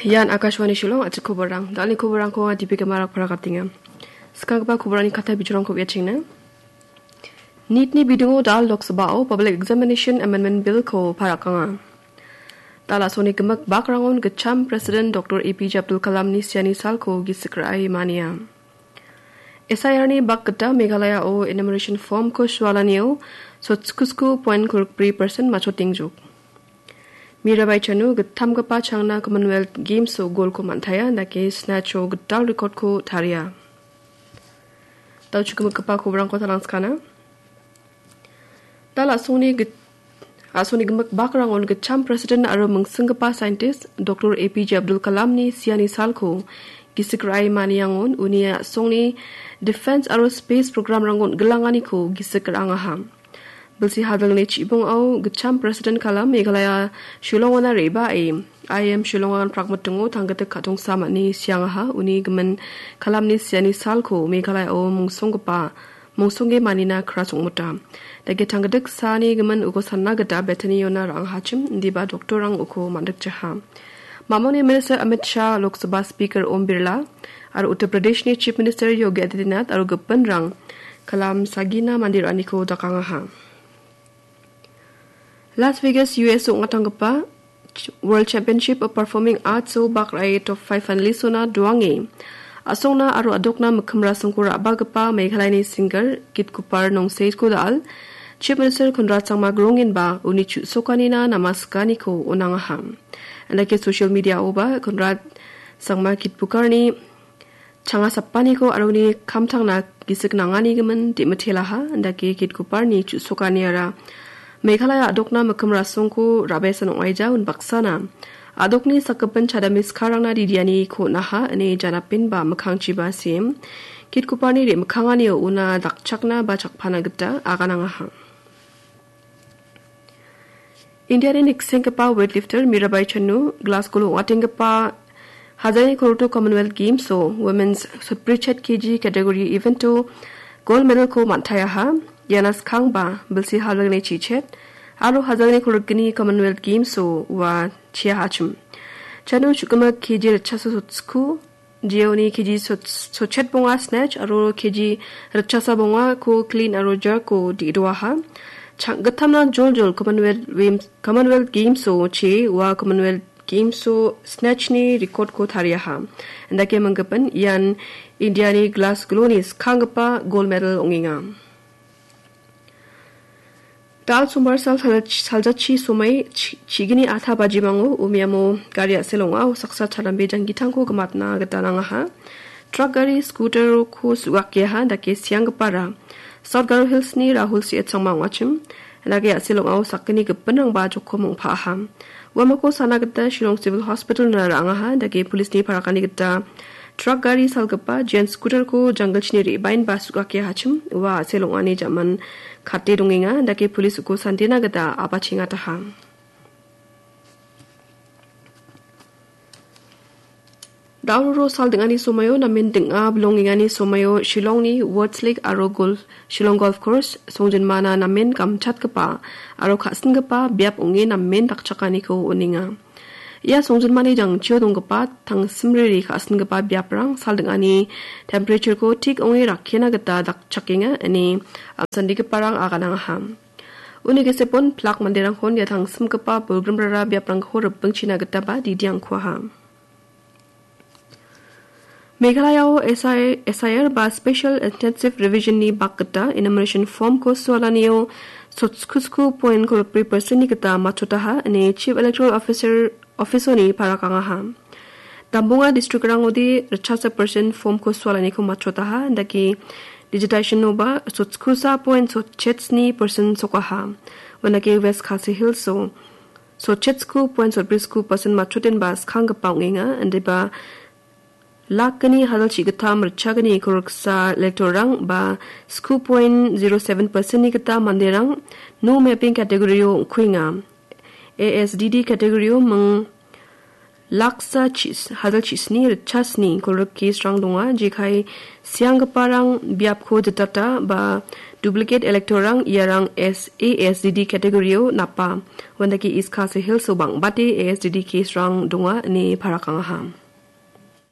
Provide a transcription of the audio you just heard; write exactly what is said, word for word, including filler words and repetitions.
Ian Akashvani Shillong, a·chik koborang. Dalni koborangko Dipika Marak parakatenga. Skanggipa koborani kata bijorangko uiachengna. Nitni bidingo dal Lok Sabhao Public Examination Amendment Bill-ko parakanga. Dal a·songni gimik bakrangon gitcham President Doktor A P J Abdul Kalamni siani salko gisik ra·e mania. S I R-ni bak gita Meghalayao enumeration form-ko sualanio sotskisku point kolbri persen matchotengjok. Mirabai Chanu gittamgipa changna Commonwealth Games-o golko man·taia, dake snatch-o gital record-ko taria. Dal chukgimikgipa koborangko talangskana. Dal a·songni git-, a·songni gimik bakrangon gitcham President aro mingsinggipa scientist Doktor A P J Abdul Kalamni siani salko gisik ra·e maniangon uni a·songni defense aro space programrangon gilanganiko gisik ra·angaha. Bilsi hadilni chibongao gitcham President Kalam Meghalaya Shillongona re·bae I I M Shillongan prakmitingo tanggitik ka·tongsa man·e siangaha. Uni gimin Kalamni siani salko Meghalayao mungsonggipa, mungsongge manina kra songmota. Dake tanggitik saani gimin uko sanna gita Bethany-ona ra·angahachim, indiba doktorrang uko man·rikjaha. Mamoni Minister Amit Shah, Lok Sabha Speaker Om Birla, aro Uttar Pradeshni Chief Minister Yogi Adityanath aro gipinrang Kalam sagina mande ra·aniko dakangaha. Las Vegas, U S ong·atanggipa Ch-, World Championship of Performing Arts-o bak ra·e top five finalist-ona doange. A·songna aro a·dokna mikkim rasongko ra·bagipa Meghalayani singer Kit Kupar Nongseiko da·al, Chief Minister Conrad Sangma Grongenba uni chu·sokanina namasikaniko on·angaha. Andake social media-oba Conrad Sangma Kit Kuparni changa sapaniko aro uni kamtangna gisik nanganigimin de·mitelaha, indake Kit Kuparni chu·sokaniara Meghalaya a·dokna mikkim rasongko ra·baesan ong·aija. Unbaksana a·dokni sakgipin chadamiskarangna didianiko on·aha ine janapenba mikkangchiba sem Kit Kuparni re·mikkanganio una dakchakna ba chakpana gita aganangaha. Indiani niksenggipa weightlifter Mirabai Chanu Glasgow-o ong·atenggipa Hazarani Kolgrik Commonwealth Games-o Women's sotbrichet K G category event-o gold medal-ko man·taiaha. Iana skangba bilsi hazarani chichet aro hazarani kolgrikni Commonwealth Games-o ua chiahachim. Chanu chu·gimik K G ritchasa sotsko, jeoni K G sot-, sotchet bonga snatch aro K G ritchasa bongako clean aro jerk-ko de·doaha. Chang-, gittamna joljol Commonwealth Games, Commonwealth Games-o chee ua Commonwealth Games-o snatch-ni record-ko tariaha. Indake minggipin ian Indiani Glasgow-ni skanggipa gold medal ong·enga. Dal sombar sal sal-, saljachi somai chi-, chigini atha bajimango umiamo gari a·sel ong·ao saksa chalambe janggitangko gimatna gita nangaha. Truck gari scooter-ko su·gakeaha dake sianggipara South Garo Hills-ni Rahul C H Sangma ong·achim. Dake a·sel ong·ao sakgni gipinrangba jokom ong·paaha. Uamako sana gita Shillong Civil Hospital-na ra·angaha dake police-ni parakani gita truck gari salgipa jean scooter-ko janggilchini re·baenba su·gakeahachim ua a·sel ong·ani ja·man kate dongenga dake police uko sandena gita a·bachengataha. Dauroro sal ding·ani somaio namen ding·a bilongengani somaio Shillongni Woods Lake aro Gol-, Shillong Golf Course songjinmana namen gamchatgipa aro ka·singipa biap ong·e namen dakchakaniko on·enga. Ia songjinmani jangchio donggipa tangsim riri ka·singipa biaprang sal ding·ani temperature-ko tik ong·e rakkena gita dakchakenga ine amsandigiparang aganangaha. Uni gisepon plak manderangkon ia tangsimgipa bolgrimrara biaprangko ripengchina gitaba didiangkuaha. Meghalayao S I, S I R ba Special Intensive Revision-ni bak gita enumeration form-ko sualanio sotskisku point kolbri percent-ni gita matchotaha ine Chief Electoral Officer office-oni parakangaha. Dambunga district-rangode ritchasa percent form-ko sualaniko matchotaha, dake digitization-oba sotskisa point sotchetsni percent sokaha. Uandake West Khasi Hills-o sotchetsku point sotbrisku percent matchotenba skanggipa ong·enga, indiba lakgni hajalchi gittam ritchagni kolgriksa elector-rang ba sku point zero seven percent-ni gita manderang no mapping category-o ong·kuenga. A S D D category-o ming Laksa chis, hajalchisni ritchasni kolgrikesrang donga, jekai sianggiparang biapko jitata ba duplicate electorrang iarang S A S D D category-o napa. Wandake East Khasi Hills-o bang·bate A S D D kesrang donga ine parakangaha.